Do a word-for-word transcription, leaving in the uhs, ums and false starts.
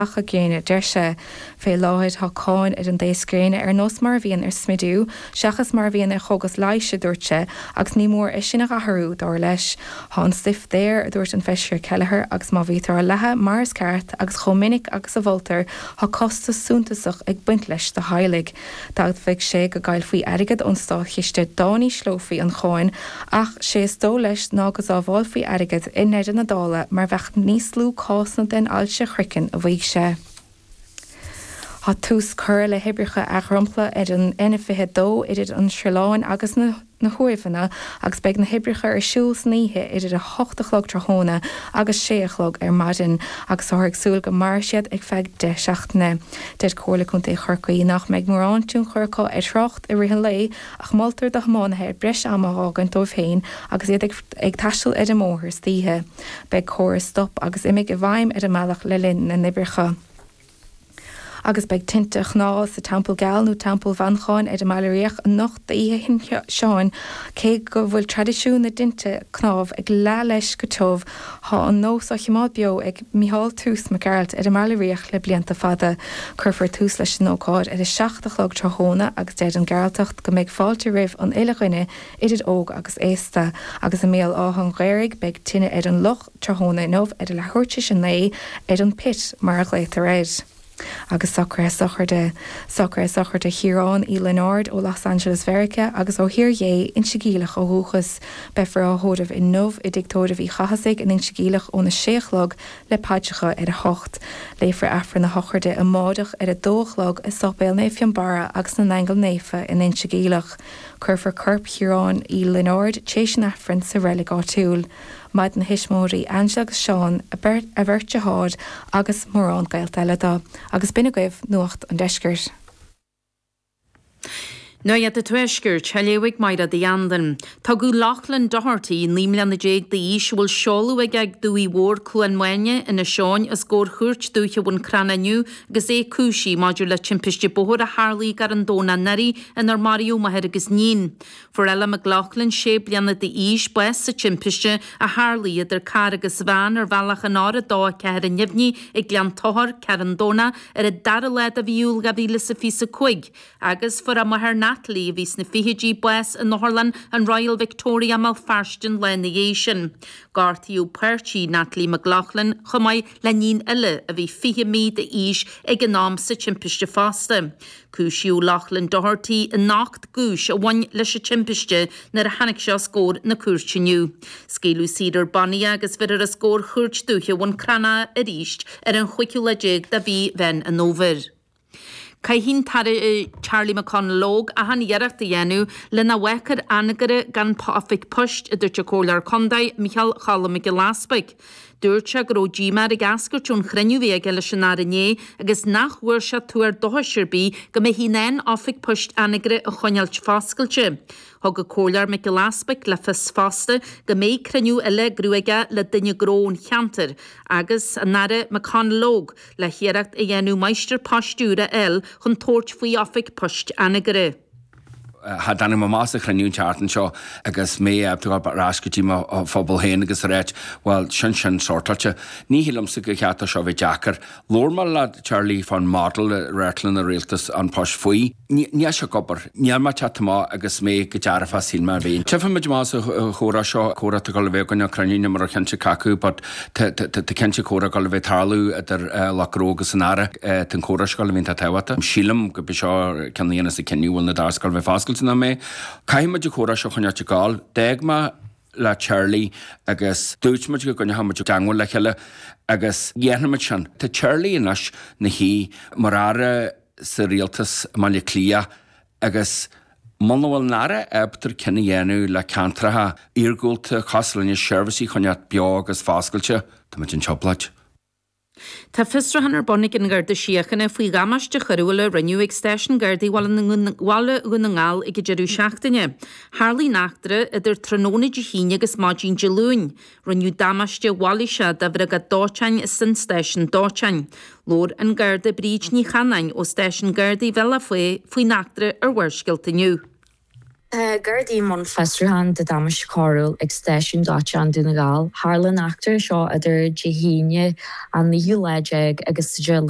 lacha gréine, deir sé. Fé láthair tá cáin ar an dtaos gréine ar nós mar a bhíonn ar smidiú, seachas mar a bhíonn ar chógas leighis, a dúirt sé, agus ní mór é sin a athrú, dar leis. Tá an stuif daor, a dúirt an Feisire Kelleher, agus má bhítear á leathadh mar is ceart agus chomh minic agus a mholtar, tá costas suntasach ag baint leis do theaghlaigh. D'admhaigh sé go gcaillfí airgead ón státchiste dá n-ísleofaí an cháin ach sé is dóigh leis ná go sábhálfaí airgead i ndeireadh na dála mar bheadh níos lú cásanna den ailse chraicinn, a mhaígh sé. Tá tús curtha le hoibreacha athdhromchla ar an N fiche dó idir an Sruthán agus na na hUaimheanna agus beidh na hoibreacha ar siúl san oíche idir a hocht a chlog tráthnóna agus sé a chlog ar maidin agus táthar ag súil go mairfidh siad ar feadh deich seachtaine. Deir Comhairle Contae Chorcaí nach mbeidh mórán tionchar acu ar thrácht i rith an lae ach moltar do thiománaithe breis ama a fhágaint dóibh féin agus iad ag ag taisteal ar an mbóthar istoíche. Beidh córas stop agus imigh i bhfeidhm ar an mbealach le linn na n-oibreacha. Agus beidh tinte chnámh sa Teampall Geal nó Teampall Mhanchain ar an mBaile Riach anocht d'oíche Shin Seáin cé go bhfuil traidisiún na dtinte cnámh ag leá leis go tiubh tá an nós á choimeád beo ag Micheál Toose Mac Gearailt ar an mBaile Riach le blianta fada. Cuirfear tús leis an ócáid ar a seacht a chlog tráthnóna agus deir an Gearaltach go mbeidh fáilte roimh an uile dhuine idir óg agus aosta agus i mBéal Átha an Ghaorthaidh beidh tine ar an loch tráthnóna inniu ar a leathuair tar éis a naoi ar an pit mar a ghlaotar air. Agus socruithe sochraide socruithe sochraide Chiaráin Uí Lionáird ó Los Angeles Mheiriceá agus ó Thír Dhé Inse Geimhleach ó dhúchas. Beifear á thórramh inniu i dTigh Tórraimh Uí Chathasaigh in Inse Geimhleach óna sé a chlog le paidreacha ar a hocht. Léifear Aifreann na sochraide amárach ar a dó a chlog i Séipéal Naomh Fionnbarra agus na nAingeal Naofa in Inse Geimhleach. Cuirfear corp Chiaráin Uí Lionáird tar éis an Aifrinn sa reilig áitiúil. Maireann a thuismitheoirí Angela agus Seán a bheirt deartháir agus mórán gaolta eile dó, agus b'in agaibh Nuacht an Deiscirt. Nuacht an Tuaiscirt, á léamh ag Máire Uí Anluain. Tugadh Loughlin Doherty, naoi mbliana déag d'aois, a bhfuil seoladh aige ag Dumhaigh Mhór Cluain Maine, Inis Eoghain, os comhair Chúirt Dúiche Bhun Cranncha inniu agus é cúisithe maidir le timpiste bóthair a tharlaigh gar an Domhnach anuraidh inar maraíodh máthair agus níon. Fuair Ella McLaughlin sé bliana d'aois bás sa timpiste a tharlaigh idir carr agus veain ar bhealach an R a dó a ceathair i nDuibhní ag Gleann Tochair, Ceathrún Domhnach, ar an dara lá de mhí Iúil dhá mhíle is a fiche a cúig. Agus fuair a máthair Natalie, a bhí sna fichidí, bás in otharlann an Royal Victoria i mBéal Feirste an lá ina dhiaidh sin. Gortaíodh páirtí Natalie McLaughlin chomh maith le níon eile a bhí fiche mí d'aois ag an am sa timpiste fosta. Cúisíodh Loughlin Doherty in ocht gcúis a bhain leis an timpiste nuair a tháinig sé os comhair na cúirte inniu. Scaoileadh saor ar bannaí é agus bheirfear os comhair Chúirt Dúiche Bhun Cranncha arís ar an chúigiú lá déag de mhí Mheán an Fhómhair. Caithfidh an tAire Charlie McConalogue achan iarracht a dhéanamh lena bhfágfar Anagaire gan oifig poist, a dúirt an Comhairleoir Contae Micheál Cholm Mac Giolla Easpaig. Dúirt sé go raibh díomá air ag eascairt ón chruinniú a bhí aige leis an Aire inné agus nach bhfuair sé tuar dóchais ar bith go mbeifí in ann oifig poist Anagaire a choinneáilt foscailte. Thug an Comhairleoir Mac Giolla Easpaig le fios fosta go mbeidh cruinniú eile á eagrú aige le duine gnó ón cheantar agus an Aire McConalogue le hiarracht a dhéanamh máistir poist úr a fháil chun tabhairt faoi oifig poist Anagaire. Tháinig mé amach as an chruinniú an tseachtain seo agus mé ag dul ar ais go dtí mo phobal féin agus a ráit, bhuel, sin sin sortáilte. Ní shílimse gur cheart dó seo bheith deacair. Labhair mé le Charlie fán model a reáchtálann an rialtas An Post faoi. Níl sé ag obair. Níl mé ag teacht amach agus mé go dearfach shíl mé a bhí. Tchífidh muid amach sa chomhrá seo, comhrá atá ag dul a bheith againn, cruinniú, níl mé róchinnte cé acu, but tá cinnte comhrá ag dul a bheith ag tarlú idir lucht gnó agus an Aire. Tá an comhrá seo ag dul a bheith iontach tábhachtach. Sílim go b'é seo ceann a dhéanfas an cinneadh bhfuil na doirse ag dul a bheith foscailte nó mbeidh. Caithfidh muid an comhrá seo a choinneáilt ag gabháil. D'fhág mé le Charlie agus dúirt muid go gcoinneoidh muid i dteangmháil le chéile agus dhéanfaidh muid sin. Tá Charlie anois ina shuí mar aire sa rialtas i mBaile Átha Cliath agus muna bhfuil an Aire ábalta cinneadh a dhéanamh le ceantracha iargúlta cosúil linne seirbhísí a choinneáilt beo agus foscailte, tá muid in trioblóid. Tá fiosrúchán ar bun ag an Gharda Síochána faoi dhamáiste choiriúil a rinneadh ag Stáisiún Gardaí Bhaile Dhún na nGall ag an deireadh seachtaine. Tharlaigh an eachtra idir tráthnóna Dé hAoine agus maidin Dé Luain. Rinneadh damáiste mhailíseach do bhriogáid dóiteáin is don stáisiún dóiteáin. Labhair an Garda Bríd Ní Chanáin ó Stáisiún Gardaí Bhealach Féich faoin eachtra ar Bharrscéalta inniu. Tá Gardaí i mbun fiosrúchán de damáiste coiriúil ag stáisiún dóiteáin Dún na nGall. Tharla an eachtra seo idir Dé hAoine an naoú lá déag agus Dé Luain.